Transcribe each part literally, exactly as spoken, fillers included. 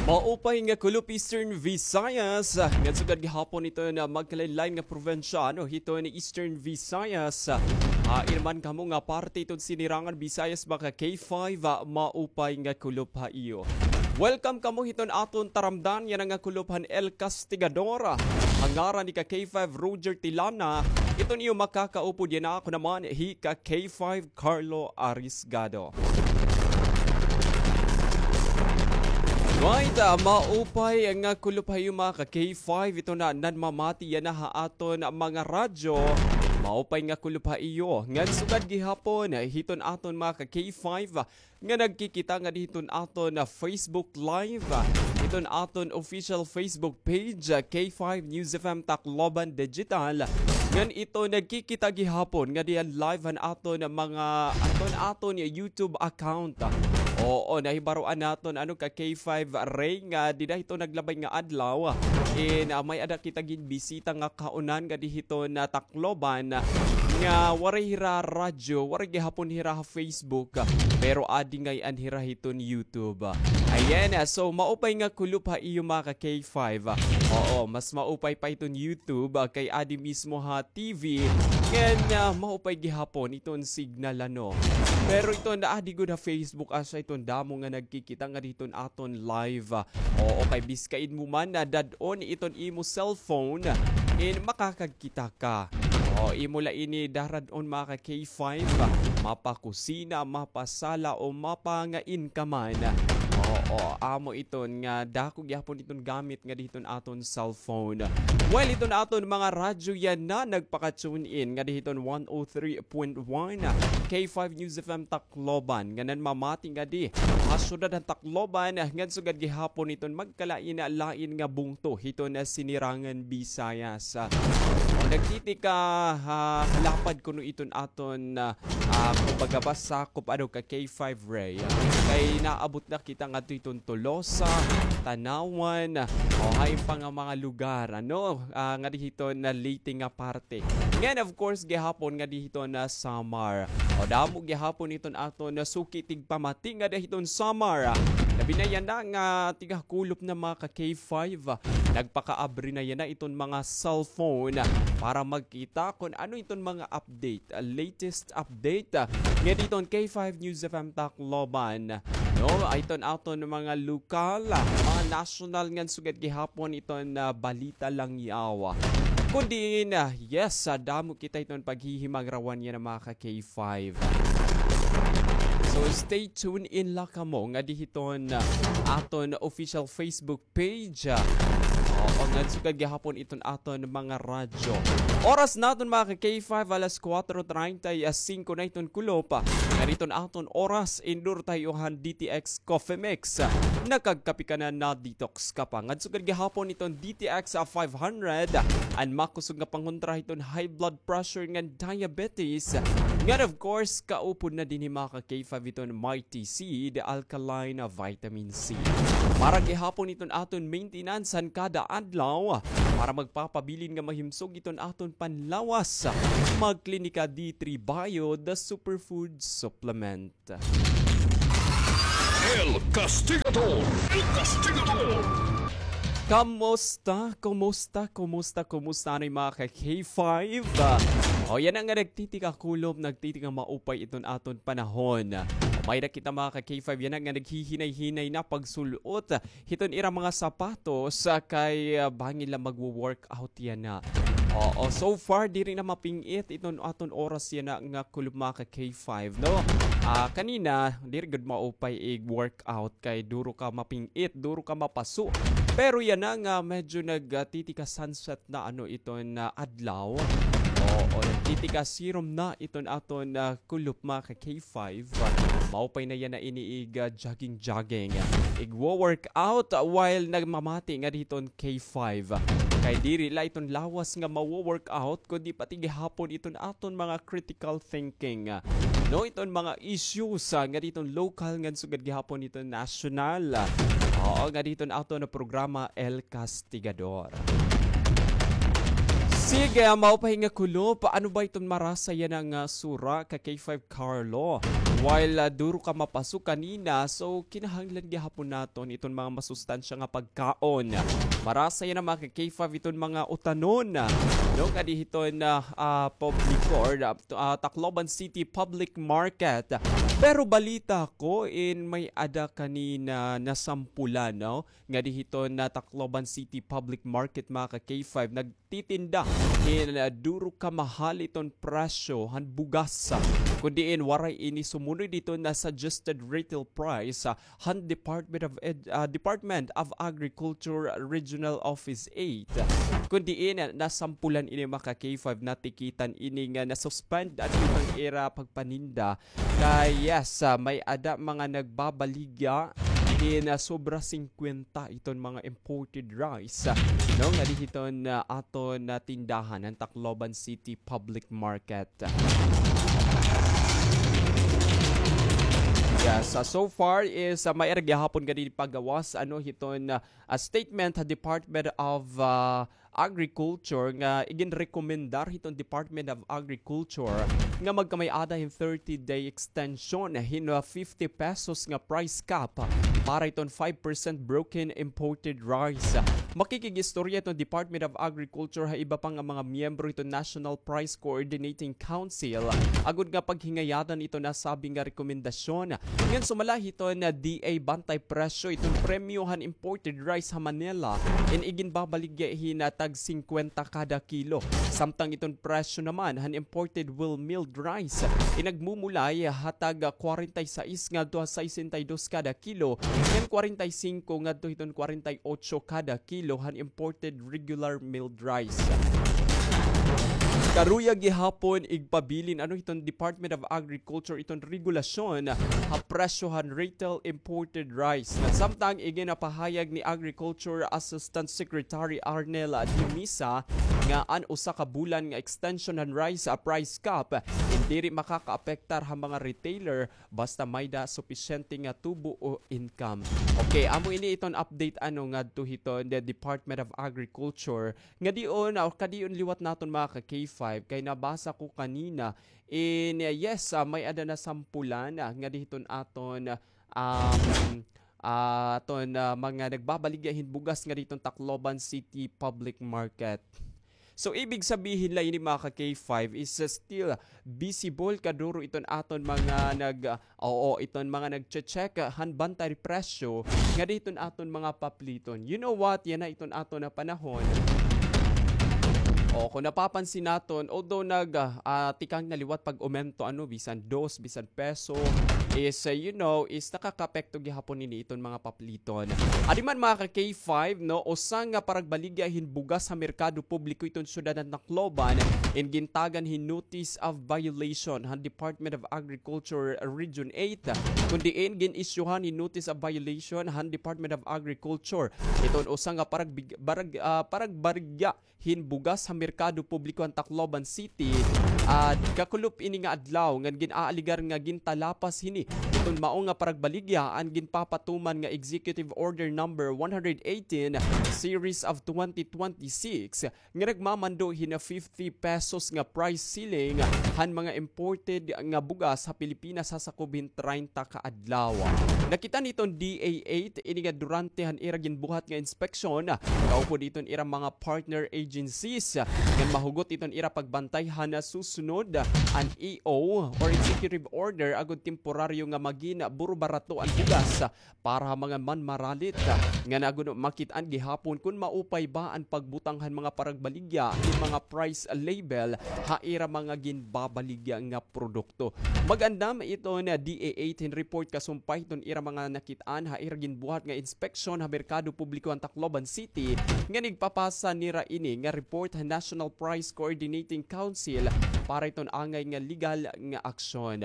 Maupay nga kulop Eastern Visayas, ah, ngan sugad gihapon iton magkalain-lain nga probinsiya, ano, hiton Eastern Visayas. Ah, iri man kamo nga parte hiton Sinirangan Visayas, mga ka K five, ah, maupay nga kulop ha iyo. Welcome kamo hiton aton taramdan, yana nga kulop han El Castigador. Ah, ha ngaran ni ka K five Roger Tilana, iton iyo makakaupod yana, ako naman hi ka K five Carlo Arisgado. Right, ah, maupay nga kulop ha iyo, mga ka K five, iton nanmamati yana ha aton mga radyo. Maupay nga kulop ha iyo. Ngan sugad gihapon hiton aton mga ka K five, ah, nga nagkikita ngadi hiton aton, ah, Facebook Live, ah, hiton aton official Facebook page, ah, K five News F M Tacloban Digital. Ngan ito nagkikita gihapon ngadi han live han aton mga, aton, aton YouTube account. Oo, nahibaroan naton, ano, ka K five Ray, nga dida hiton naglabay nga adlaw, in, ah, may-ada kita ginbisita nga kaunan ngadi hiton Tacloban nga waray hira radyo, waray gihapon hira ha Facebook, pero adi ngay-an hira hiton YouTube. Ayan, ah, so maupay nga kulop ha iyo, mga ka K five. Oo, mas maupay pa hiton YouTube, ah, kay adi mismo ha T V. Ngan, ah, maupay gihapon iton signal, ano. Pero iton adi gud ha Facebook, asya iton damo nga nagkikita ngadi hiton aton live. Oo, kay biskain mo man na dad-on iton imo cellphone, in makakagkita ka. O, imo la ini darad-on, mga ka K five, mapakusina, mapasala, o mapangain ka man. Oo, amo iton nga dako gihapon iton gamit ngadi hiton aton cellphone. Well, iton aton mga radyo yana nagpaka-tune in ngadi hiton one oh three point one K five News F M Tacloban, nga nanmamati ngadi ha syudad han Tacloban, ngan sugad gihapon iton magkalain-lain nga bungto hiton Sinirangan Visayas. O, nagtitika ha lapad kuno iton aton, ah, ah, kumbaga ba, sakop, ano, ka K five Ray. Kay naabot na kita ngadto hiton Tolosa, Tanauan, o, hain pa nga mga lugar, ano, ah, ngadi hiton Leyte nga parte. Ngan, of course, gihapon ngadi hiton Samar. O, damo gihapon iton aton suki tigpamati ngadi hiton Samar. Labi na yana nga tigakulop na, mga ka K five. Nagpakaabri na yana iton mga cellphone para magkita kon ano iton mga update, ah, latest update, ah, ngadi hiton K five News F M Tacloban. No, iton aton mga lokal, ah, mga national ngan sugad gihapon iton, ah, balita langyaw. Kon diin, ah, yes, ah, damo kita iton paghihimagrawan yana, mga ka K five. So, stay tuned in la kamo ngadi hiton, ah, aton official Facebook page. Oo, ngan sugad gihapon iton aton mga radyo. Oras naton, mga ka K five, alas kuwatro treinta y cinco na iton kulop. Ngan iton aton oras, indur ta ha iyo han D T X Coffee Mix. Nakagkape ka na, na-detox ka pa. Ngan sugad gihapon iton D T X five hundred, an makusog nga pangontra hiton high blood pressure ngan diabetes. Ngan, of course, kaupod na dinhi, mga ka K five, iton Mighty Seed Alkaline Vitamin C. Para gihapon iton aton maintenance han kada adlaw, para magpapabilin nga mahimsog iton aton panlawas, magklinika D three Bio, the superfood supplement. El Castigador! El Castigador! Kamusta? Kumusta? Kumusta? Kumusta anay, mga ka K five? Ah, o, yana nga nagtitika kulop, nagtitika maupay iton aton panahon. May-ada kita, mga ka K five, yana nga naghihinay-hinay na pagsul-ot hiton ira mga sapatos, ah, kay, ah, bangin la magwo-workout yana. Oo, so far, diri na maping-it iton aton oras yana nga kulop, mga ka K five, no? Ah, kanina, diri gud maupay ig-workout kay duro ka maping-it, duro ka mapaso. Pero yana nga medyo nag, ah, titika sunset na, ano, iton, ah, adlaw. Oo, nagtitika sirom na iton aton, ah, kulop, mga ka K five. Maupay na yana ini ig, ah, jogging-jogging. Ig-workout while nagmamati ngadi hiton K five. Kay diri la iton lawas nga mawo-workout, kundi pati gihapon iton aton mga critical thinking. No, iton mga issues, ah, ngadi hiton local ngan sugad gihapon iton national. Oo, ngadi hiton aton programa El Castigador. Sige, maupay nga kulop. Ano ba iton marasa yana nga sura, ka K five Carlo? While, ah, duro ka mapasok kanina, so kinahanglan gihapon naton iton mga masustansya nga pagkaon. Marasa yana, mga ka-K five, iton mga utanon, no, ngadi hiton, ah, ah, publiko or, ah, t-, ah, Tacloban City Public Market. Pero balita ko in may-ada kanina nasampulan, no? Ngadi hiton, ah, Tacloban City Public Market, mga ka-K five, nagtitinda hin, ah, duro ka mahal iton presyo han bugas. Kun diin waray ini sumunod hiton, ah, suggested retail price, ah, han Department of Ed-, ah, Department of Agriculture Regional Office eight. Kun diin, ah, nasampulan ini, mga ka-K five, natikitan ini nga nasuspend an iton ira pagpaninda. Kay, yes, ah, may-ada mga nagbabaligya hin, ah, sobra singkwenta iton mga imported rice, ah, no, ngadi hiton, ah, aton, ah, tindahan han Tacloban City Public Market. Yes, ah, so far is, ah, may-ada gihapon ngadi pagawas, ano, hiton, ah, ah, statement ha Department of, ah, Agriculture nga iginrekomendar hiton Department of Agriculture nga magkamay-ada hin thirty-day extension hin, ah, fifty pesos nga price cap para hiton five percent broken imported rice. Makikig-istorya hiton Department of Agriculture ha iba pa nga mga miyembro hiton National Price Coordinating Council agod nga paghingayadan iton nasabi nga rekomendasyon. Ngan sumala hiton D A Bantay Presyo, iton premyo han imported rice ha Manila in iginbabaligya hin tag singkwenta kada kilo. Samtang iton presyo naman han imported wheat milled rice in nagmumulay ha tag kwarenta y sais ngadto ha sesenta y dos kada kilo, ngan kwarenta y singko ngadto hiton kwarenta y otso kada kilo han imported regular milled rice. Karuyag gihapon igpabilin, ano, hiton Department of Agriculture iton regulasyon ha presyo han retail imported rice. Samtang iginapahayag ni Agriculture Assistant Secretary Arnel Dimisa nga an usa ka bulan nga extension han rice, ah, price cap in diri makakaapektar ha mga retailer basta may-ada supisyente nga tubo o income. Okay, amo ini iton update, ano, ngadto hiton the Department of Agriculture. Ngadion, ah, kadion liwat naton, mga ka-K five, kay nabasa ko kanina in, ah, yes, ah, may-ada nasampulan, ah, ngadi hiton aton, ah, um, ah, aton, ah, mga nagbabaligya hin bugas ngadi hiton Tacloban City Public Market. So, ibig sabihin la ini, mga ka-K five, is, uh, still visible kaduro iton aton mga nag-, uh, oo, iton mga nagche-check, uh, han bantay presyo ngadi hiton aton mga papliton. You know what? Yana iton aton nga panahon. O, kun napapansin naton, although nag, uh, uh, tikang na liwat pag-umento, ano, bisan dos, bisan peso, is, uh, you know, is nakakaapekto gihapon ini iton mga papliton. Adi man, mga ka-K five, no, usa nga paragbaligya hin bugas ha merkado publiko iton syudad han Tacloban in gintagan hin notice of violation han Department of Agriculture Region eight, kun diin gin-isyuhan hin notice of violation han Department of Agriculture. Iton usa nga parag-, barag-, ah, paragbaligya hin bugas ha merkado publiko han Tacloban City, ah, kakulop ini nga adlaw ngan gin-aaligar nga gintalapas hini iton mao nga paragbaligya an ginpapatuman nga Executive Order Number one hundred eighteen, Series of twenty twenty-six, nga nagmamando hin fifty pesos nga price ceiling han mga imported nga bugas ha Pilipinas ha sakob hin treinta ka adlaw. Nakit-an hiton D A eight ini nga durante han ira ginbuhat nga inspeksyon, kaupod hiton ira mga partner agencies, ngan mahugot hiton ira pagbantay han susunod an E O or executive order agod temporaryo nga magin buro-barato an bugas para ha mga manmaralit, ngan agod makit-an gihapon kon maupay ba an pagbutang han mga paragbaligya hin mga price label ha ira mga ginbabaligya nga produkto. Mag-andam iton D A eight hin report kasumpay hiton ira mga nakit-an ha ira ginbuhat nga inspeksyon ha merkado publiko han Tacloban City, ngan igpapasa nira ini nga report ha National Price Coordinating Council para hiton angay nga legal nga aksyon.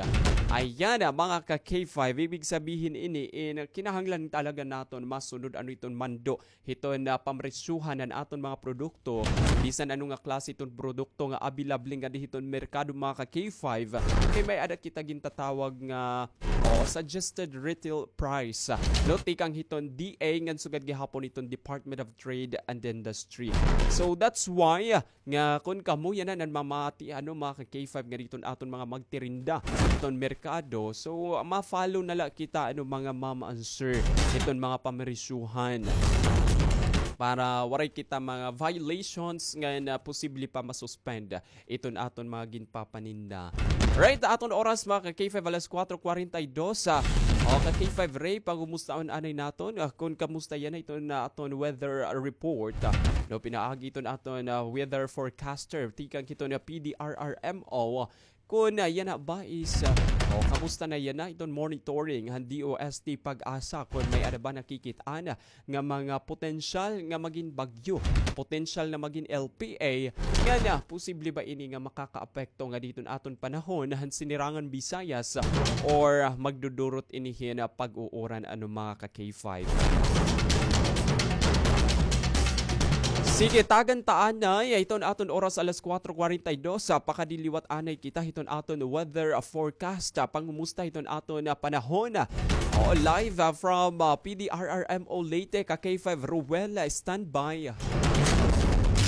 Ayan, mga ka-K K five, ibig sabihin ini, eh, na kinahanglan talaga naton masunod ano iton mando hiton, ah, pamresyuhan han aton mga produkto, bisan ano nga klase iton produkto nga available ngadi hiton merkado, mga ka K five, kay may-ada kita gintatawag nga, oh, suggested retail price, ah, no, tikang hiton D A ngan sugad gihapon hiton Department of Trade and Industry. So that's why, ah, nga kun kamo yana nanmamati, ano, mga ka K five, nga diton aton mga magtirinda hiton merkado, so ma-follow na la kita, ano, mga ma'am and sir, hiton mga pamresyuhan para waray kita mga violations nga na posible pa masuspend iton aton mga ginpapaninda. Right, aton oras, mga ka K five, alas kuwatro kuwarenta y dos. Ah, o, ka K five Ray, pangumustaon anay naton. Ah, kun kamusta yana iton aton weather, ah, report, ah, no, pinaagi iton aton, ah, weather forecaster tikang hiton, ah, P D R R M O. Kun, ah, yana ba is, ah, o, kamusta na yana iton monitoring han D O S T PAGASA, kun may-ada ba nakikit-an, ah, nga mga potensyal nga magin bagyo, potensyal na magin L P A, nga na posible ba ini nga makakaapekto nga diton aton panahon han Sinirangan Visayas, or magdudurot ini hin pag-uuran, ano, mga ka K five? Sige, tagan ta anay, iton aton oras alas kuwatro kuwarenta y dos, ah, pakadiliwat anay kita hiton aton weather, ah, forecast, ah, pangumusta hiton aton, ah, panahon. Oo, live, ah, from, ah, P D R R M O Leyte, ka K five Ruel, ah, standby.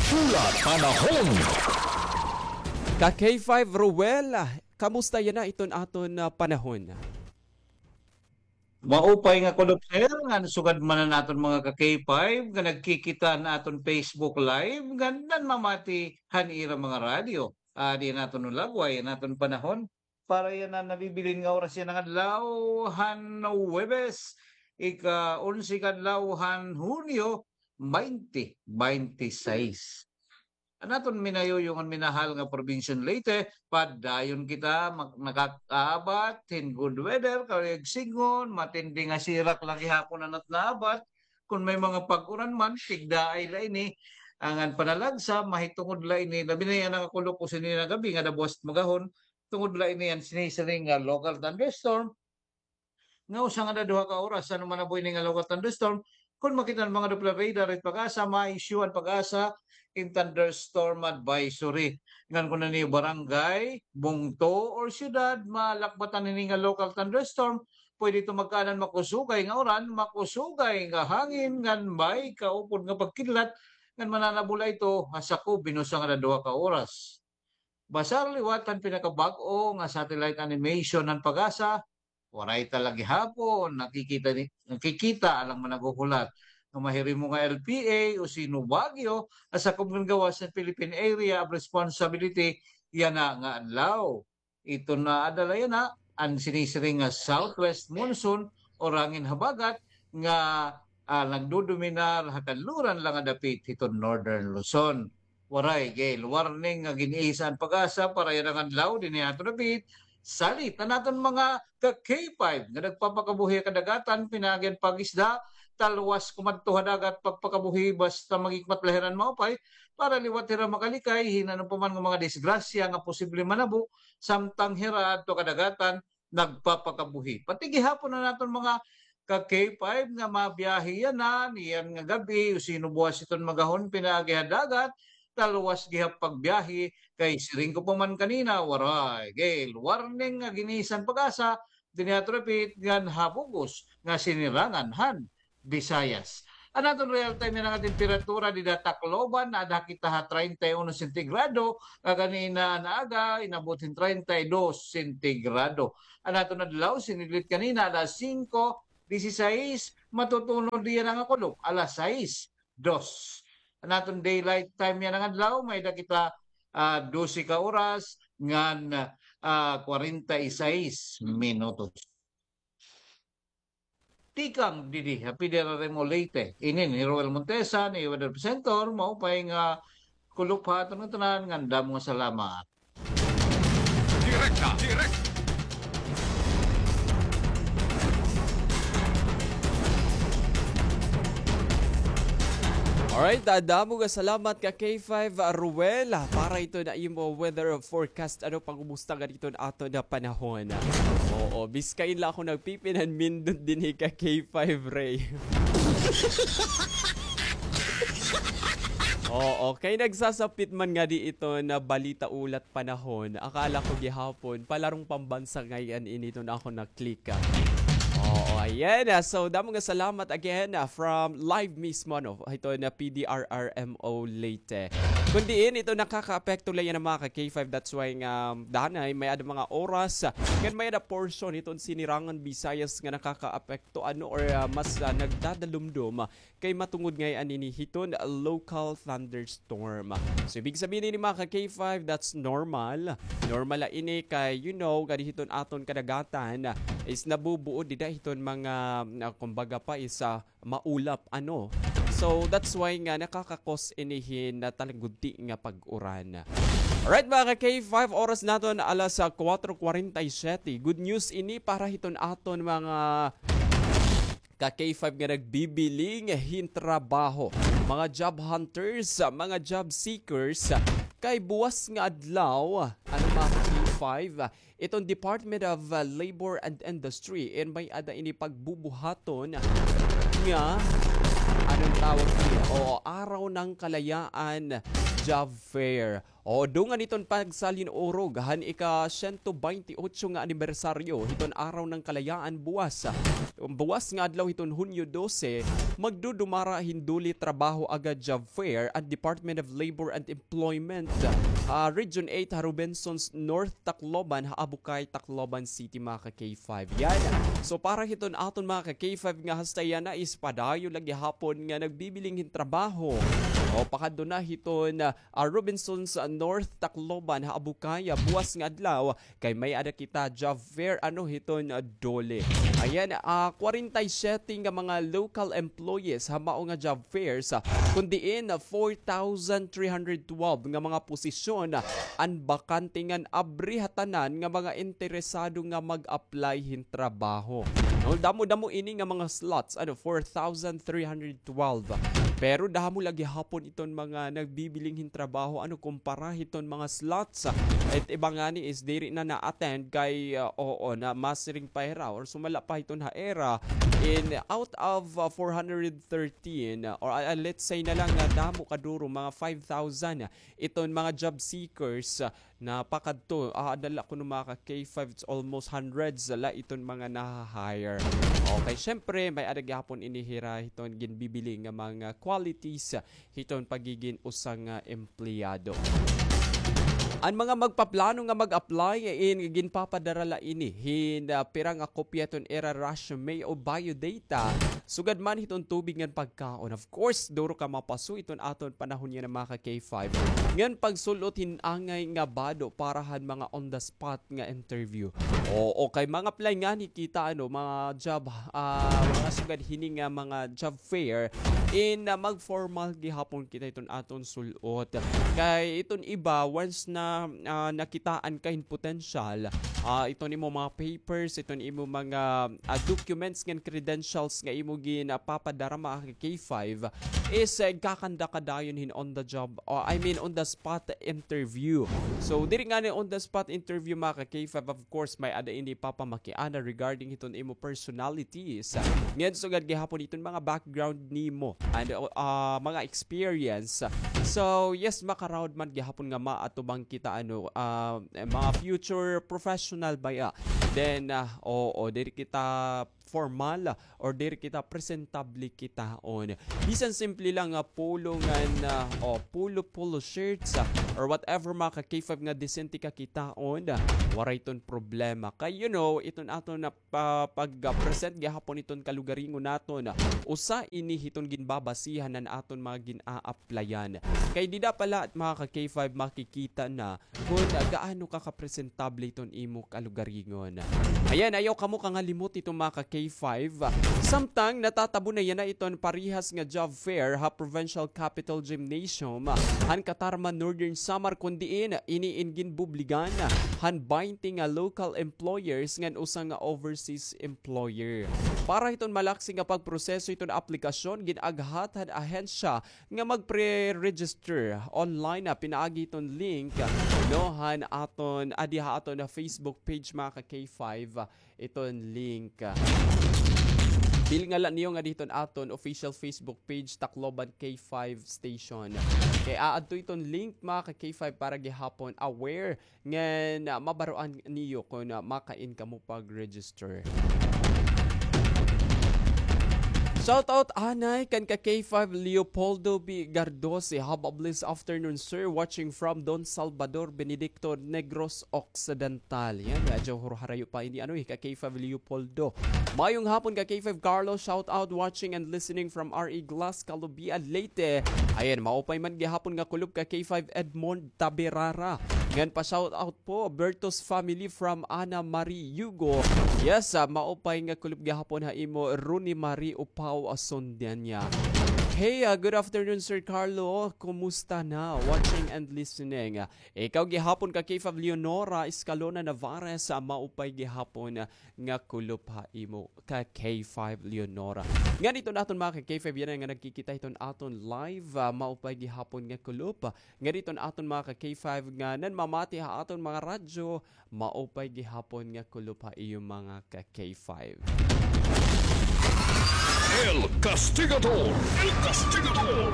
Pula Panahon. Ka K five Ruel, ah, kamusta yana iton aton, ah, panahon? Maupay nga kulop, sir, ngan sugad man an aton mga ka K five nga nagkikita han aton Facebook Live, ngan nanmamati han ira mga radyo. Ah, di naton ulagway an aton panahon. Para yana nabibilin nga oras yana nga adlaw han Huwebes, ika-onse ka adlaw han Hunyo, baynte baynte sais. An aton minayuyong ngan minahal nga probinsya han Leyte, padayon kita mak-, nakakaabat hin good weather, kay sidngon, matindi nga sirak la gihapon an at naabat. Kon may mga pag-uran man, tigdaay la ini. Ngan panalagsa, mahitungod la ini, labi na yana nga kulop o sini nga gab-i nga dabuwas magahon, tungod la ini an sinisiring nga local thunderstorm, nga usa ngada duha ka oras, ano man an buhi ini nga local thunderstorm. Kon makita an mga Doppler radar it PAGASA, ma-issue an PAGASA hin thunderstorm advisory. Ngan kon an iyo barangay, bungto, or syudad, malakbatan hini nga local thunderstorm, pwede ito magkaanan makusugay nga uran, makusugay nga hangin, ngan may kaupod nga pagkidlat, ngan mananabo la ito ha sakob hin usa ngada duha ka oras. Basar liwat han pinakabag-o nga satellite animation han PAGASA, waray ta la gihapon nakikita ni, nakikita an mga naghuhulat nga mahirimo nga L P A o Sinubagyo ha sakob ngan gawas han Philippine Area of Responsibility yana nga adlaw. Ito na adala yana an sinisiring nga southwest monsoon o hangin habagat nga, ah, nagdodominar ha kanluran la nga dapit hiton Northern Luzon. Waray gale warning nga gin-isa an PAGASA para yana nga adlaw dinhi ha aton dapit. Salit an aton mga ka K five nga nagpapakabuhi ha kadagatan, pinaagi han pag-isda, talwas kumadto ha dagat pagpakabuhi basta maghikmat la hira hin maupay para liwat hira makalikay hin ano pa man nga mga disgrasya nga posible manabo samtang hira adto ha kadagatan nagpapakabuhi. Pati gihapon an aton mga ka K five nga mabiyahe yana niyan nga gab-i o sino buwas iton magahon pinaagi ha dagat, talwas gihap pagbiyahe kay siring ko pa man kanina, waray gale warning nga gin-isa han PAGASA dinhi ha aton dapit ngan ha bug-os nga sinirangan han Visayas. An aton real time yana nga temperatura dida ha Tacloban, naada kita ha treinta y uno sentigrado, nga ganina nga aga, inabot hin treinta y dos sentigrado. An aton adlaw, sinidlit kanina, alas singko dieciséis, matutunod yana nga kulop, alas sais dos. An aton daylight time yana nga adlaw, may-ada kita, ah, dose ka oras ngan, ah, kwarenta y sais minutos. Tikang didi ha P D R R M O Leyte, ini ni Roel Montesa, ni Weather Presenter, maupay nga kulop ha aton ngatanan, ngan damo nga salamat. Direkta, direk- Alright, ah, damo nga salamat ka K five, ah, Ruel, ah, para ito na imo weather forecast. Ano pangumusta nga dito na ato na panahon? Oo. O, biskain la ako nagpipinanindot dinhi ka K five Ray. Oo, kay nagsasapit man ngadi iton balita, ulat, panahon. Akala ko gihapon, palarong pambansa ngay-an ini iton akon na-click, ah. Oo, ayan, ah. So, damo nga salamat again, ah, from live mismo, no? Iton P D R R M O Leyte. Kun diin, iton nakakaapekto la yana mga ka K five. That's why nga, danay, may-ada mga oras, ah, ngan may-ada portion hiton Sinirangan Visayas nga nakakaapekto, ano, or, ah, mas, ah, nagdadalumdom, ah, kay matungod ngay-an ini hiton local thunderstorm. So, ibig sabihin ini, mga ka K five, that's normal. Normal la ini kay, you know, ngadi hiton aton kadagatan is nabubuo dida hiton mga, ah, kumbaga pa is, ah, maulap, ano. So, that's why nga nakaka-cause ini hin, ah, talagudti nga pag-uran. Alright, mga ka K five, oras naton alas, ah, kuwatro kuwarenta y siyete. Good news ini para hiton aton mga ka K five nga nagbibiling hin trabaho, mga job hunters, mga job seekers, kay buwas nga adlaw, ano, mga ka K five, iton Department of, uh, Labor and Industry, in may-ada ini pagbubuhaton nga, anong tawag niya? O, Araw ng Kalayaan Job Fair. O, dungan hiton pagsalin-urog han ika-siyento baynte otso nga anibersaryo hiton Araw ng Kalayaan buwas. Buwas nga adlaw hiton Hunyo dose, magdudumara hin DOLE Trabaho Agad Job Fair an Department of Labor and Employment, ah, Region eight ha Robinsons North, Tacloban, ha Abucay, Tacloban City, mga ka K five. Yan. So, para hiton aton mga ka K five nga hasta yana is padayon la gihapon nga nagbibiling hin trabaho. O, pakadto na hiton, ah, ah, Robinsons North, Tacloban, ha Abucay, buwas nga adlaw, kay may-ada kita job fair, ano, hiton, ah, DOLE. Ayan, ah, kwarenta y siyete nga mga local employees ha mao nga job fairs, ah, kun diin, ah, four thousand three hundred twelve nga mga posisyon, ah, an bakante ngan abri ha tanan nga mga interesado nga mag-apply hin trabaho. No, damo-damo ini nga mga slots, ano, four thousand three hundred twelve. Pero damo la gihapon iton mga nagbibiling hin trabaho, ano, kumpara hiton mga slots. It iba ngani is diri na na-attend kay, uh, oo, na masiring pa hira or sumala pa hiton ha ira. In out of, uh, four hundred thirteen, uh, or, uh, let's say na lang nga damo kaduro, mga five thousand iton mga job seekers, ah, na pakadto, ah, ada la kuno mga ka K five, it's almost hundreds la iton mga naha-hire. Okay, syempre, may-ada gihapon ini hira hiton ginbibiling nga mga qualities, ah, hiton pagigin usa nga empleyado. An mga magpaplano nga mag-apply, in ginpapadara la ini hin, ah, pira nga kopya hiton ira resume o biodata, sugad man hiton tubig ngan pagkaon. Of course, duro ka mapaso iton aton panahon yana, mga ka K five. Ngan pagsul-ot hin angay nga bado para han mga on the spot nga interview. Oo, kay mag-apply ngani kita, ano, mga job, ah, mga sugad hini nga mga job fair, in, ah, mag-formal gihapon kita iton aton sul-ot. Kay iton iba, once na, ah, nakitaan ka hin potensyal, ah, iton imo mga papers, iton imo mga, ah, documents ngan credentials nga imo ginpapadara, mga ka K five, is, eh, kakanda ka dayon hin on the job, o, I mean, on the spot interview. So, diri ngani on the spot interview, mga ka K five, of course, may-ada ini papamakiana regarding hiton imo personalities. Ngan sugad gihapon iton mga background nimo and, uh, mga experience. So, yes, makaraod man gihapon nga maatubang kita, ano, uh, mga future professional baya. Then, uh, oo, diri kita formal or diri kita presentable kitaon. Bisan simple lang nga polo ngan, ah, o, polo, polo shirts, ah, or whatever, mga ka K five, nga disente ka kitaon, ah, waray iton problema. Kay, you know, iton aton na pa-, pag-present gihapon iton kalugaringon naton, ah, usa ini hiton ginbabasihan han aton mga gin-a-applyan. Kay dida pa la, mga ka K five, makikita na kun gaano ka kapresentable iton imo kalugaringon. Ayan, ayaw kamo kangalimot iton, mga ka K five. Samtang natatabo na yana iton parehas nga job fair ha Provincial Capitol Gymnasium han Catarman, Northern Samar, kun diin ini in ginbubligan han baynte nga local employers ngan usa nga overseas employer. Para hiton malaksi nga pagproseso hiton aplikasyon, gin-aghat han ahensya nga mag-pre-register online, ah, pinaagi hiton link, ah, no, han aton, adi ha aton, ah, Facebook page, mga ka K five. iton link. Bilnga la niyo ngadi hiton aton official Facebook page, Tacloban K five Station. Kay aadto iton link, mga ka K five, para gihapon aware ngan, ah, mabaroan niyo kon, ah, makain kamo pag-register. Shout out anay kan ka K five Leopoldo B Gardose. Have a blessed afternoon, sir. Watching from Don Salvador Benedicto, Negros Occidental. Yan, medyo harayo pa ini, ano, eh, ka K five Leopoldo. Mayong hapon ka K five Carlo. Shout out, watching and listening from R E Glass, Calubian, Leyte. Ayan, maupay man gihapon nga kulop ka K five Edmond Tabirara. Ngan pa shout out po, Bertos family from Ana Marie Yugo. Yes, ah, maupay nga kulop gihapon ha imo, Rooney Marie Upao Asundianya. Hey, ah, good afternoon, Sir Carlo. Kumusta na? Watching and listening. Ikaw gihapon ka K five Leonora Escalona Navarez, ah, maupay gihapon, ah, nga kulop ha imo ka K five Leonora. Ngan iton aton mga ka K five yana nga nagkikita hiton aton live, ah, maupay gihapon nga kulop. Ngan iton aton mga ka K five nga nanmamati ha aton mga radyo, maupay gihapon nga kulop ha iyo mga ka K five. El Castigador! El Castigador!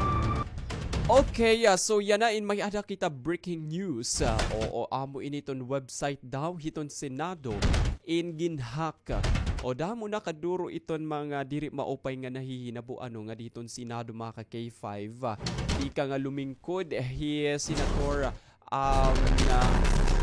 Okay, ah, so yana in may-ada kita breaking news. Ah, oo, amo ini iton website daw hiton Senado in ginhack. O, damo na kaduro iton mga diri maupay nga nahihinabo, ano, ngadi hiton Senado, mga ka K five. Ah, ika nga lumingkod hi Senator, um, ah,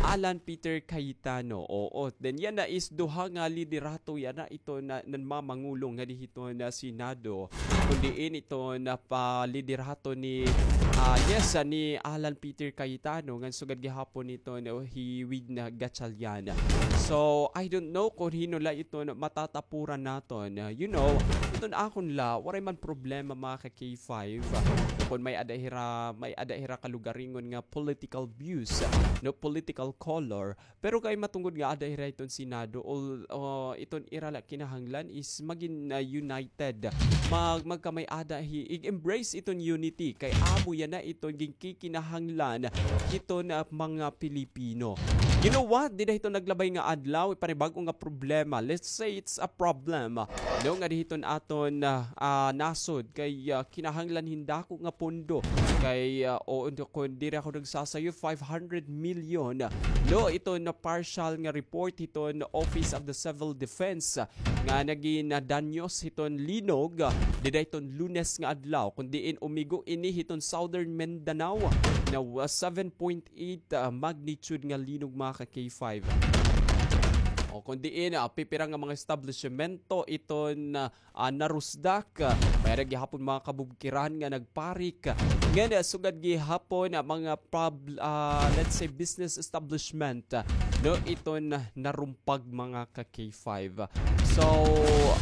Alan Peter Cayetano. Oo, then yana is duha nga liderato yana iton nanmamangulong ngadi hiton Senado. Kon diin iton, ah, paliderato ni, ah, yes, ah, ni Alan Peter Cayetano, ngan sugad gihapon iton, no, hi Win Gatchalian. So, I don't know kon hin-o la iton matatapuran naton. Ah, you know, iton akon la, waray man problema, mga ka K five. Ah, kon may-ada hira, may-ada hira kalugaringon nga political views, ah, no, political color, pero kay matungod nga ada hira iton Senado, ol-, o, iton ira la kinahanglan is magin, ah, united. Mag-, magkamay-ada hi, i-embrace iton unity. Kay amo yana iton ginkikinahanglan hiton, ah, mga Pilipino. You know what? Dida hiton naglabay nga adlaw, panibag-o nga problema. Let's say it's a problem. No, ngadi hiton aton, ah, ah, nasod kay, ah, kinahanglan hin dako nga pondo. Kay, ah, o, kon diri ako nagsasayo, five hundred million. No, iton partial nga report hiton Office of the Civil Defense, ah, nga nagin, ah, danyos hiton linog, ah, dida hiton Lunes nga adlaw. Kon diin umigo ini hiton Southern Mindanao, na, ah, seven point eight, ah, magnitude nga linog, mga ka K five. O, kon diin, ah, pipira nga mga establishmento iton, ah, ah, narusdak. May-ada gihapon mga kabubkiran nga nagparik. Ngan, ah, sugad gihapon, ah, mga prob-, ah, let's say, business establishment, ah, no, iton narumpag, mga ka K five. So,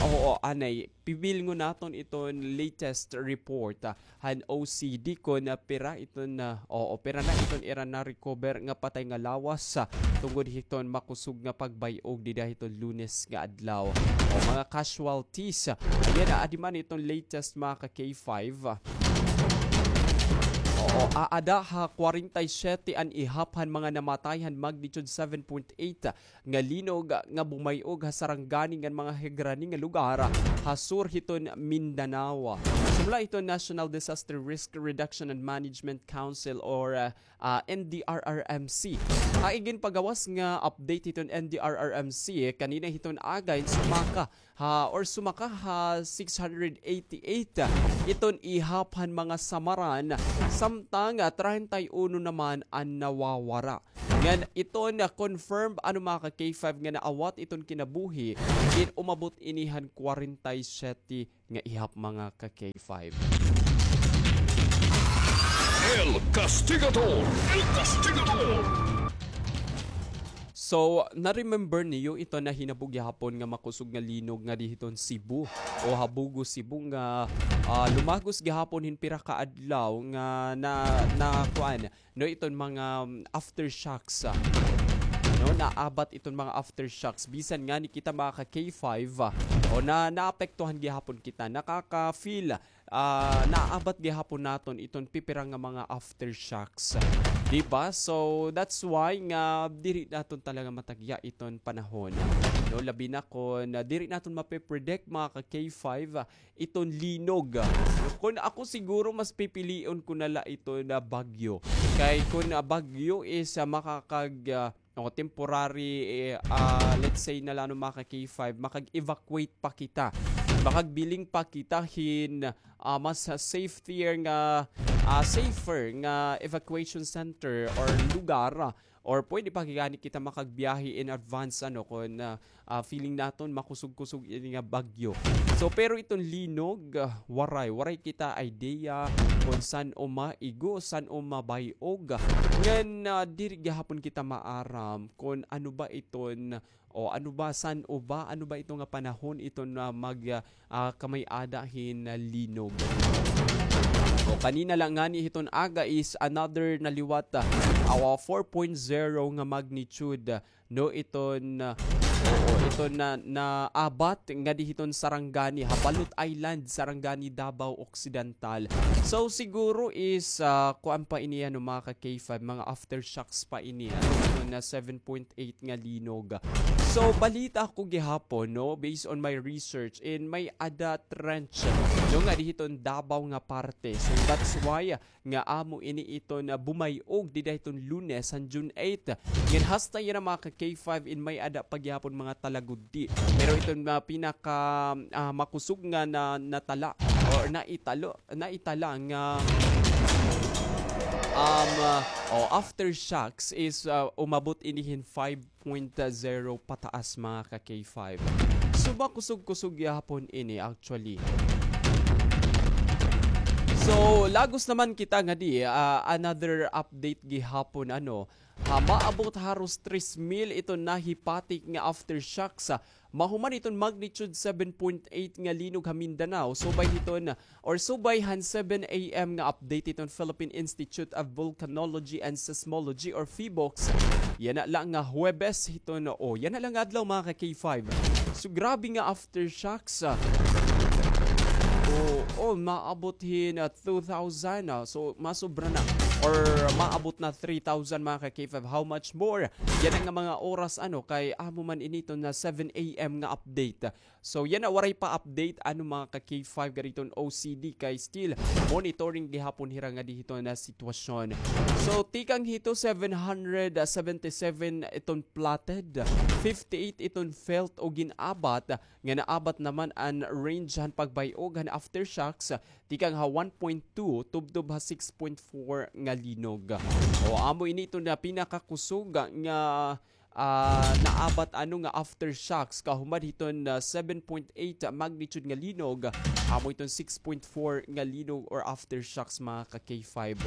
oo, anay, pibilngon naton iton latest report, ah, han O C D kon, ah, pira iton, ah, oo, pira na iton ira na-recover nga patay nga lawas, ah, tungod hiton makusog nga pagbay-og dida hiton Lunes nga adlaw. O, mga casualties, ah, yana, adi man iton latest, mga ka K five, ah. Oo, aada ha kwarenta y siyete an ihap han mga namatay han magnitude seven point eight, ah, nga linog nga bumay-og ha Sarangani ngan mga higrani nga lugar ha sur hiton Mindanao. Sumala hiton National Disaster Risk Reduction and Management Council or, ah, ah, N D R R M C. Ha iginpagawas nga update hiton N D R R M C kanina hiton aga, sumaka ha, or sumaka ha six hundred eighty-eight iton ihap han mga samaran, samtang, ah, treinta y uno naman an nawawara. Ngan iton confirmed, ano, mga ka K five, nga naawat iton kinabuhi, in umabot ini han kwarenta y siyete nga ihap, mga ka K five. El Castigador! El Castigador! So, na-remember niyo ito na hinabo gihapon nga makusog nga linog ngadi hiton Cebu o ha Bogo, Cebu nga, ah, lumagos gihapon hin pira ka adlaw nga na, na kuan, no, iton mga, um, aftershocks, ah. No, naabat iton mga aftershocks. Bisan ngani kita, mga ka K five, ah, o na, naapektuhan gihapon kita. Nakaka-feel, ah, naabat gihapon naton iton pipira nga mga aftershocks. Di ba? So, that's why nga diri naton talaga matagya iton panahon. No, labi na kon, ah, diri naton mape-predict, mga ka K five, ah, iton linog. Kon ako siguro, mas pipilion ko na la iton, ah, bagyo. Kay kon, ah, bagyo is, ah, makakag-, ah, o temporary, eh, ah, let's say na la, ano, mga ka K five, makag-evacuate pa kita. Makagbiling pa kita hin, ah, mas safer nga, ah, safer nga evacuation center or lugar, ah, or pwede pa gani kita makagbiyahe in advance, ano, kon, ah, ah, feeling naton makusog-kusog ini nga bagyo. So, pero iton linog, ah, waray, waray kita idea kon san-o maigo, san-o mabay-og. Ngan, ah, diri gihapon kita maaram kon ano ba iton, o ano ba, san-o ba, ano ba ito nga panahon iton, ah, mag, ah, ah, kamay-ada hin, ah, linog. O, kanina la ngani hiton aga is another na liwat, ah, awa, four point zero nga magnitude, ah, no, iton, ah, oo, iton na, naabat ngadi hiton Sarangani, ha Balot Island, Sarangani, Davao Occidental. So, siguro is, ah, kuan pa ini, ano, mga ka K five, mga aftershocks pa ini, ano, iton na seven point eight nga linog. So, balita ko gihapon, no, based on my research, in may-ada trench, no, ngadi hiton Davao nga parte. So, that's why, ah, nga amo ini iton bumay-og dida hiton Lunes han June eight. Ngan hasta yana, mga ka K five, in may-ada pa gihapon mga tala gudti. Pero iton, ah, pinaka, ah, makusog nga na, natala or naitalo, naitala nga, um, ah, o, aftershocks is, ah, umabot ini hin five point zero pataas, mga ka K five. So, makusog-kusog gihapon ini, actually. So, lagos naman kita ngadi, ah, another update gihapon, ano, ha, maabot haros tres mil iton nahipatik nga aftershocks, ah, mahuman iton magnitude seven point eight nga linog ha Mindanao, subay hiton, or subay han seven A M nga update hiton Philippine Institute of Volcanology and Seismology or PHIVOLCS. Yana la nga Huwebes hiton, o, yana la nga adlaw, mga ka K five. So, grabe nga aftershocks, ah. O, o, maabot hin, ah, two thousand, ah. So, masobra na. Or maabot na three thousand, mga ka K five. How much more? Yana nga mga oras, ano, kay amo man ini iton na seven A M nga update. So, yana, waray pa update, ano, mga ka K five, ngadi hiton O C D, kay still monitoring gihapon hira ngadi hiton na sitwasyon. So, tikang hito, seven hundred seventy-seven iton plotted, fifty-eight iton felt o gin-abat, nga naabat naman an range han pagbay-og han aftershocks, tikang ha one point two tubtob ha six point four nga linog. O, amo ini iton na pinakakusog nga ah, naabat, ano, nga aftershocks, kahuman hiton, ah, seven point eight magnitude nga linog, amo iton six point four nga linog or aftershocks, mga ka K five.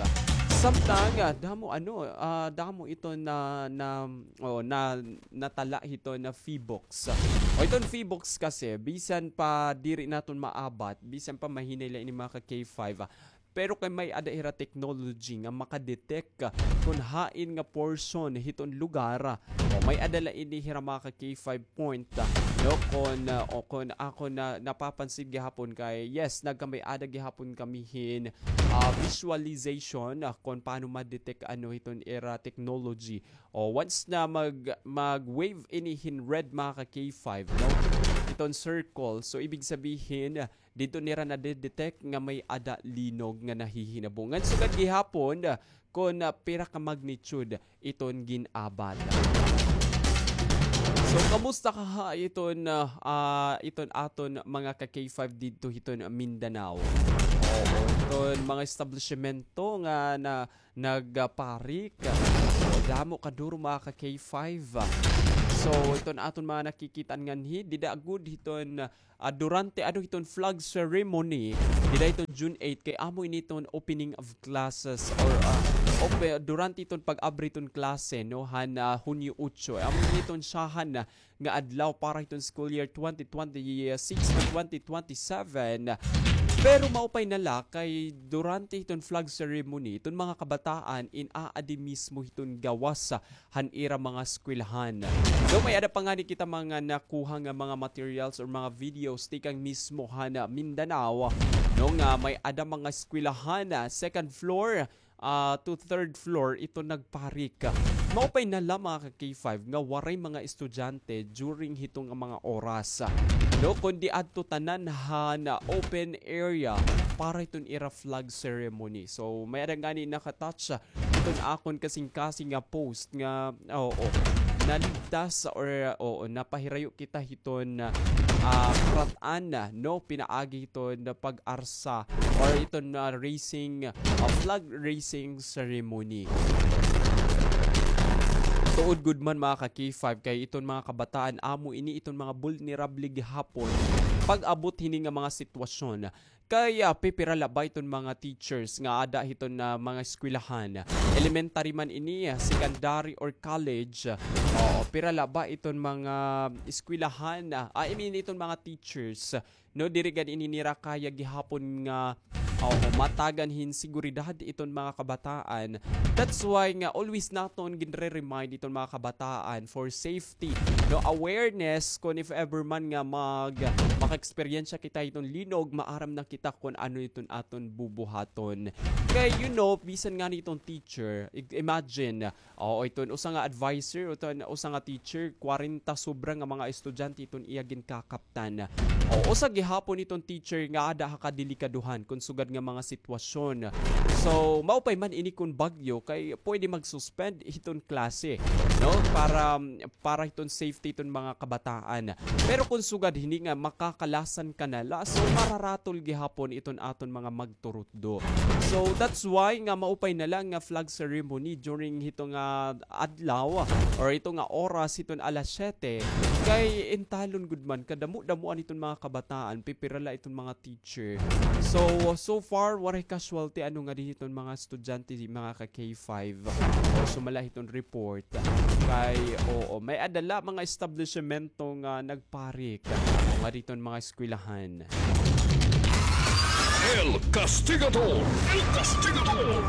Samtang, ah, damo, ano, ah, damo iton na, na, o, na, natala hiton na PHIVOLCS. O, iton PHIVOLCS kasi, bisan pa diri naton maabat, bisan pa mahinay la ini, mga ka K five, ah, pero kay may-ada hira technology nga maka-detect kon hain nga portion hiton lugar. O, may-ada la ini hira, mga ka K five, point, ah, no, kon, ah, o kon ako na napapansin gihapon kay, yes, nagkamay-ada gihapon kami hin, ah, visualization, ah, kon paano ma-detect, ano, hiton ira technology. O, once na mag, mag-wave ini hin red, mga ka K five, no, hiton circle, so ibig sabihin, didto nira nade-detect nga may-ada linog nga nahihinabo. Ngan sugad gihapon, ah, kon, ah, pira ka magnitude iton gin-abat. So, kamusta ka ha iton, ah, ah, iton aton mga ka K five didto hiton Mindanao? Oo, iton mga establisyemento nga na, nagparik. So, damo kaduro, mga ka K five. So, iton aton mga nakikita-an nganhi, dida gud hiton, ah, durante, ano, hiton flag ceremony, dida hiton June eight, kay amo ini iton opening of classes or, ah, op-, durante iton pag-abri hiton klase, no, han, ah, Hunyo otso. Amo ini iton syahan na nga adlaw para hiton school year twenty twenty-six to twenty twenty-seven. Pero maupay na la kay durante hiton flag ceremony, iton mga kabataan in aadi mismo hiton gawas han ira mga eskwelahan. Daw may-ada pa ngani kita mga nakuha nga mga materials or mga videos tikang mismo han Mindanao, no, nga may-ada mga eskwelahan, ah, second floor, ah, to third floor iton nagparik. Maupay na la, mga ka-K five, nga waray mga estudyante during hito nga mga oras. No, kundi adto tanan han open area para hiton ira flag ceremony. So, may-ada ngani naka-touch hiton akon kasingkasing nga post nga, oo, naligtas or, oo, napahirayo kita hiton, ah, karat-an, no, pinaagi hiton pag-arsa or hiton, ah, raising, ah, flag raising ceremony. Tuod gud man, mga ka-K five, kay iton mga kabataan amo ini iton mga vulnerable gihapon pag-abot hini nga mga sitwasyon. Kay, ah, pipira la ba iton mga teachers nga ada hiton, ah, mga eskwelahan? Elementary man ini, ah, secondary or college, oo, pira la ba iton mga eskwelahan? Ah, I mean, iton mga teachers, no, diri gad ini nira kaya gihapon nga, oo, matagan hin seguridad iton mga kabataan. That's why nga always naton ginre-remind iton mga kabataan for safe safety, no, awareness, kon if ever man nga mag-, maka-eksperyensya kita hiton linog, maaram na kita kon ano iton aton bubuhaton. Kay, you know, bisan ngani iton teacher, i-, imagine, oo, iton usa nga adviser, o iton usa nga teacher, kwarenta sobra nga mga estudyante iton iya ginkakaptan. O, usa gihapon iton teacher nga ada ha kadelikadohan kon sugad nga mga sitwasyon. So, maupay man ini kon bagyo, kay pwede mag-suspend hiton klase, no? Para, para hiton safety hiton mga kabataan. Pero kon sugad hini nga makakalasan ka na la, so mararatol gihapon iton aton mga magturutdo. So that's why nga maupay na la nga flag ceremony during hito nga adlaw or hito nga oras hiton alas siyete, kay intalon gud man kadamo-damoan hiton mga kabataan, pipira la iton mga teacher. So, so far, waray casualty ano ngadi hiton mga estudyante, mga ka-K five. O, sumala hiton report. Kay, oo, may-ada la mga establishmento nga nagparik. Ano ngadi hiton mga eskwelahan. El Castigador! El Castigador!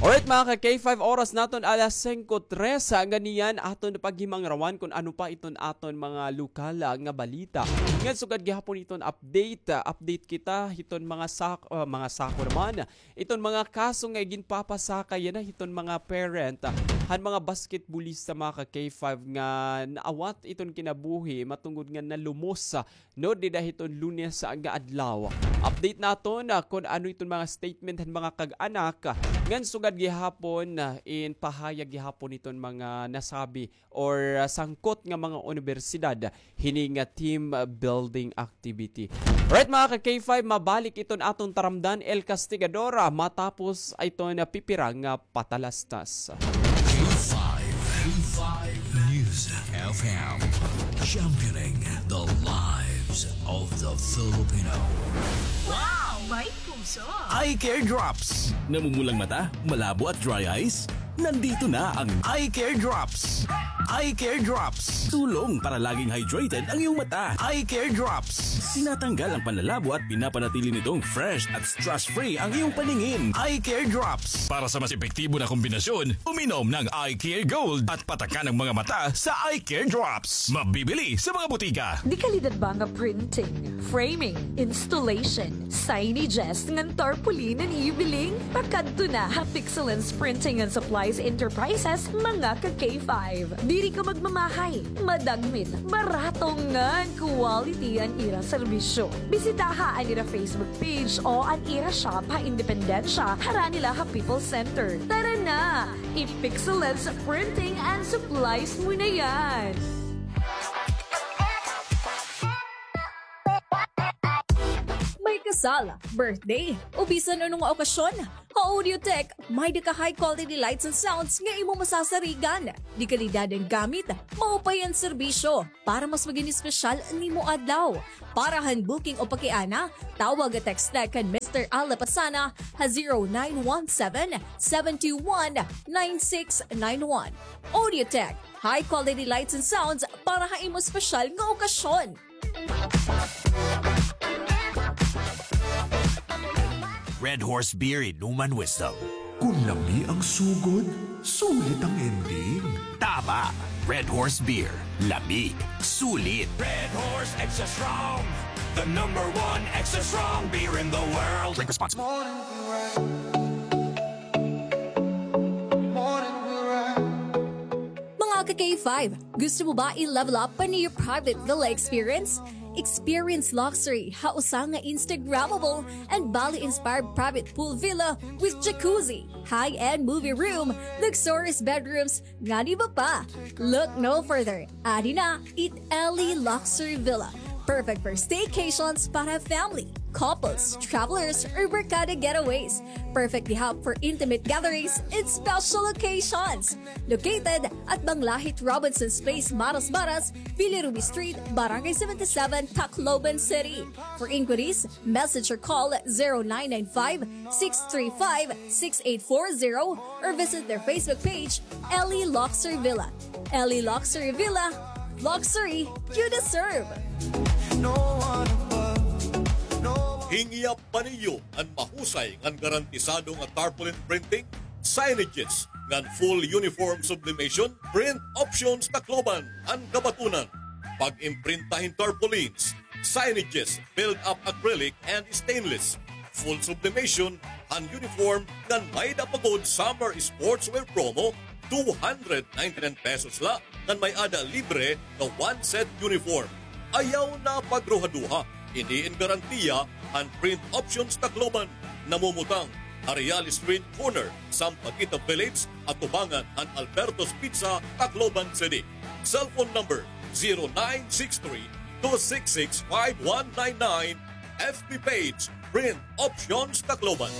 Alright, mga ka-K five, oras naton alas singko tres. Ngan niyan aton paghimangrawan kon ano pa iton aton mga lokal, ah, nga balita. Ngan sugad gihapon iton update, ah, update kita hiton mga sak-, ah, mga sako naman. Iton mga kaso nga ginpapasaka yana hiton mga parent, ah, han mga basketballista, mga ka-K five, nga naawat iton kinabuhi matungod nga nalumos, ah, no, dida hiton Lunes nga adlaw. Update naton, ah, kon ano iton mga statement han mga kag-anak, ah, ngan sugad gihapon, ah, in pahayag gihapon iton mga nasabi or, ah, sangkot nga mga unibersidad hini nga team, ah, building activity. Right, mga ka-K five, mabalik iton aton taramdan, El Castigador, ah, matapos iton, ah, pipira nga patalastas. K five, K five News F M, championing the lives of the Filipino. Wow! May puso! Eye Care Drops. Namumulang mata, malabo at dry eyes? Nandito na ang Eye Care Drops. Eye Care Drops. Tulong para laging hydrated ang iyong mata. Eye Care Drops. Tinatanggal ang panlalabo at pinapanatili nitong fresh at stress-free ang iyong paningin. Eye Care Drops. Para sa mas epektibo na kombinasyon, uminom ng Eye Care Gold at patakan ang mga mata sa Eye Care Drops. Mabibili sa mga butika. Dekalidad ba nga printing, framing, installation, signages ngan tarpaulin an iyo biling? Pakadto na ha Pixelens Printing and Supplies Enterprises, mga ka-K five. Diri ka magmamahay, madagmit, barato ngan quality an ira serbisyo. Bisitaha an ira Facebook page o an ira shop ha Independencia, harani la ha People's Center. Tara na! I-Pixelens Printing and Supplies mo na yan! May kasal, birthday, o bisan ano nga okasyon, ha Audiotech, may-ada ka high quality lights and sounds nga imo masasarigan. Dekalidad an gamit, maupay an serbisyo, para mas magin espesyal an imo adlaw. Para han booking o pakiana, tawag o text na kan Mister Al Lapasana ha zero nine one seven, seven two one, nine six nine one. Audiotech, high quality lights and sounds para ha imo espesyal nga okasyon. Red Horse Beer, inuman wisdom. Kon lami ang sugod, sulit ang ending. Tama! Red Horse Beer. Lami. Sulit. Red Horse Extra Strong. The number one extra strong beer in the world. Drink responsibly. K five, gusto mo ba i-level up pa an iyo private villa experience? Experience luxury ha usa nga Instagrammable and Bali-inspired private pool villa with jacuzzi, high-end movie room, luxurious bedrooms, ngan iba pa. Look no further. Adi na it Ellie Luxury Villa. Perfect for staycations para family, couples, travelers, or barkada getaways. Perfect gihap for intimate gatherings and special occasions. Located at Banglahit Robinson's Place, Marasbaras, Bilirubin Street, Barangay seventy-seven, Tacloban City. For inquiries, message or call zero nine nine five, six three five, six eight four zero or visit their Facebook page, Ellie Luxury Villa. Ellie Luxury Villa, luxury you deserve. Hingyap pa niyo an mahusay ngan garantisado nga tarpaulin printing, signages, ngan full uniform sublimation? Print Options Tacloban an kabatunan. Pag-imprinta hin tarpaulins, signages, build-up acrylic and stainless, full sublimation han uniform ngan may-ada pa gud summer sportswear promo, two hundred ninety-nine pesos la ngan may-ada libre nga one set uniform. Ayaw na pagruhaduha, ini in garantiya han Print Options Tacloban, namumutang ha Real Street corner, Sampaguita Village, atubangan han Alberto's Pizza, Tacloban City. Cellphone number zero nine six three, two six six, five one nine nine. F B page, Print Options Tacloban.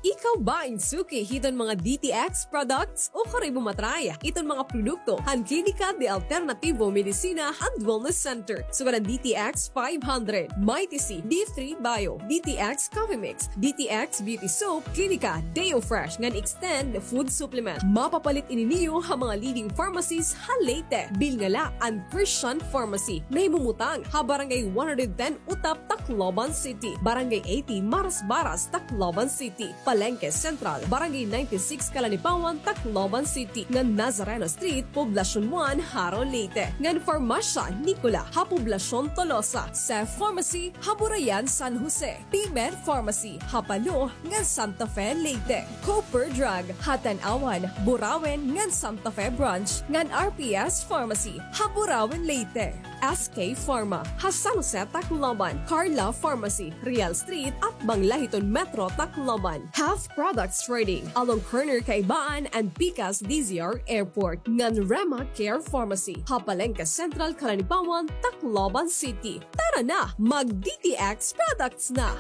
Ikaw ba in suki hiton mga D T X products o kari mo matry hiton mga produkto han Klinika de Alternativo Medicina and Wellness Center? Sugad an D T X five hundred, Mighty C, D three Bio, D T X Coffee Mix, D T X Beauty Soap, Klinika Deo Fresh ngan Extend Food Supplement. Mapapalit ini niyo ha mga leading pharmacies ha Leyte. Bilnga la an Christian Pharmacy, nahimumutang ha Barangay one hundred ten Utap, Tacloban City, Barangay eighty Marasbaras, Tacloban City, Palengke Central, Barangay ninety-six Calanipawan, Tacloban City, ngan Nazareno Street, Poblacion one, Jaro, Leyte, ngan Farmasya Nicola ha Poblacion Tolosa, Sef Pharmacy ha Burayan, San Jose, Pimer Pharmacy ha Palo ngan Santa Fe, Leyte, Cooper Drug ha Tanauan, Burauen ngan Santa Fe Branch, ngan R P S Pharmacy ha Burauen, Leyte, S K Pharma ha San Jose, Tacloban, Carla Pharmacy, Real Street, atbang la hiton Metro Tacloban, Half Products Trading along corner Kaibaan and Pikas D Z R Airport, ngan Rema Care Pharmacy ha Palengke Central, Calanipawan, Tacloban City. Tara na, mag-D T X products na!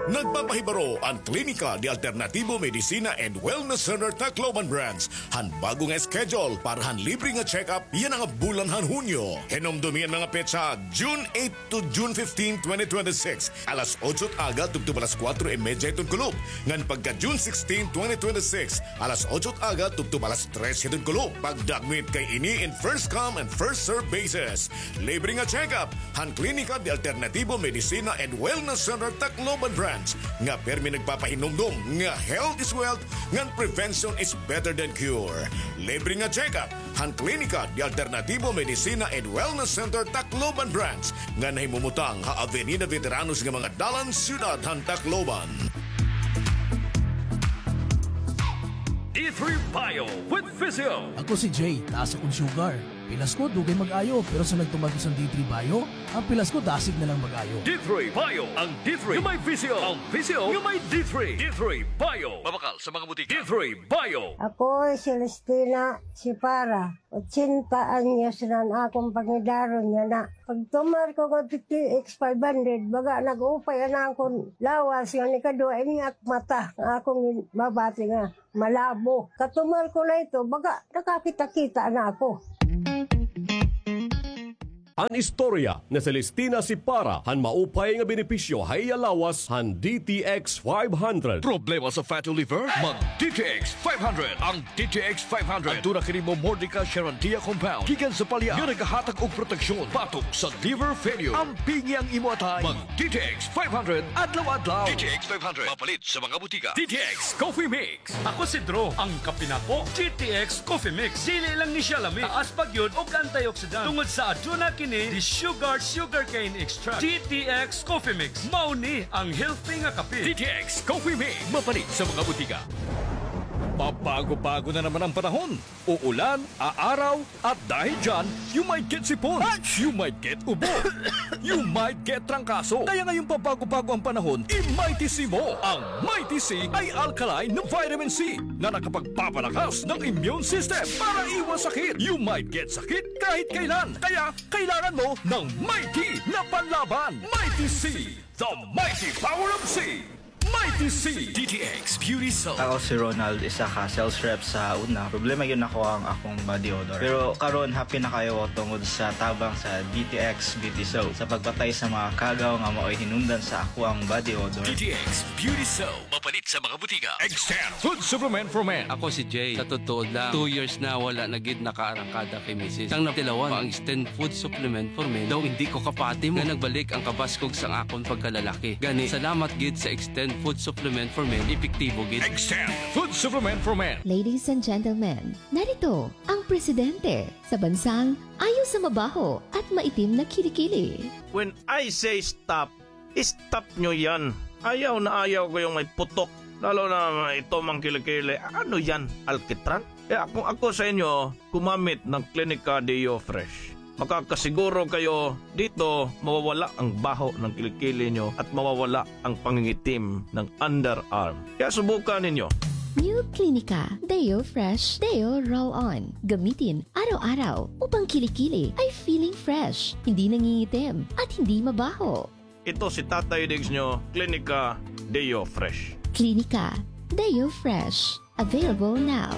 Nagpapahibaro an Klinika de Alternativo Medicina and Wellness Center Tacloban Branch han bag-o nga schedule para han libre nga check-up yana nga bulan han Hunyo. Hinumdomi an mga petsa, June eight to June fifteen, twenty twenty-six, alas otso it aga tubtob alas kuwatro y medya hiton kulop, ngan pagka June sixteen, twenty twenty-six, alas otso it aga tubtob alas tres hiton kulop. Pagdagmit kay ini in first come and first serve basis. Libre nga check-up han Klinika de Alternativo Medicina and Wellness Center Tacloban Branch nga pirmi nagpapahinumdom nga health is wealth ngan prevention is better than cure. Libre nga check-up han Klinika de Alternativo Medicina and Wellness Center Tacloban Branch nga nahimumutang ha Avenida Veteranos nga mga dalan, siyudad han Tacloban. D three Bio with Physio. Ako si Jay, taas akon sugar. Pilas ko, dugay mag-ayo, pero sa nagtuman ko sa D three Bio, an pilas ko dasig na lang mag-ayo. D three Bio, ang D three nga may Physio, ang Physio nga may D three. D three Bio. Mabakal sa mga butika. D three Bio. Ako si Celestina Sipara, ochenta anyos na an akon pangidaron yana. Pagtumar ko nga D T X five hundred, baga nag-upay an akon lawas, nga nikaduha ini ak mata, nga akon mabati nga malabo. Katumar ko na ito, baga nakakita-kita na ako. An istorya ni Celestina Sipara han maupay nga benepisyo ha iya lawas han D T X five hundred. Problema sa fatty liver? Mag D T X five hundred. Ang D T X five hundred, aduna kini momordica charandia compound gikan sa palya nga nagahatag og proteksyon batok sa liver failure. Ampingi ang imo atay. Mag D T X five hundred adlaw-adlaw. D T X five hundred, mapalit sa mga butika. D T X Coffee Mix. Ako si Drew, ang kape nako, D T X Coffee Mix. Dili lang ni siya lami, taas pa gyud og antioxidant tungod sa aduna kini ni the sugar, sugarcane extract. D T X Coffee Mix. Mao ni ang healthy nga kape. D T X Coffee Mix. Mapalit sa mga butika. Pabago-bago na naman ang panahon. Uulan, aaraw, at dahil dyan, you might get sipon. You might get ubo. You might get trangkaso. Kaya ngayong pabago-bago ang panahon, i-Mighty C mo. Ang Mighty C ay alkaline na vitamin C na nakapagpapalakas ng immune system para iwas sakit. You might get sakit kahit kailan. Kaya kailangan mo ng Mighty na panlaban. Mighty C, the mighty power of C. Mighty C. D T X Beauty Soap. Ako si Ronald, isa ka sales rep sa una. Problema gyud nako ang akong body odor. Pero karon, happy na kaayo ako tungod sa tabang sa D T X Beauty Soap sa pagpatay sa mga kagaw nga maoy hinungdan sa ako ang body odor. D T X Beauty Soap. Mapalit sa mga butika. Extend Food Supplement for Men. Ako si Jay. Sa totoo lang, two years na wala na gid nakaarangkada kay misis. Sang natilawan pa ang Extend Food Supplement for Men, daw hindi ko kapati mo nga nagbalik ang kabaskog sang akon pagkalalaki. Gani, salamat gid sa Extend Food Supplement for Men, epektibo gid. Extend Food Supplement for Men. Ladies and gentlemen, narito ang presidente sa bansang ayaw sa mabaho at maitim na kilikili. When I say stop, stop nyo yan. Ayaw na ayaw ko yung may putok. Lalo na ito, mga kilikili. Ano yan? Alkitran? Kaya kung ako sa inyo, gumamit ng Clinica Deo Fresh. Makakasiguro kayo dito, mawawala ang baho ng kilikili nyo at mawawala ang pangingitim ng underarm. Kaya subukan ninyo. New Clinica Deo Fresh Deo Roll-On. Gamitin araw-araw upang kilikili ay feeling fresh, hindi nangingitim, at hindi mabaho. Ito si Tatay Diggs nyo, Clinica Deo Fresh. Clinica Deo Fresh. Available now.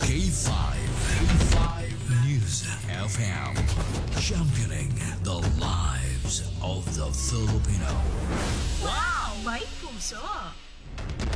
K five, K five News F M. Championing the lives of the Filipino. Wow! May puso!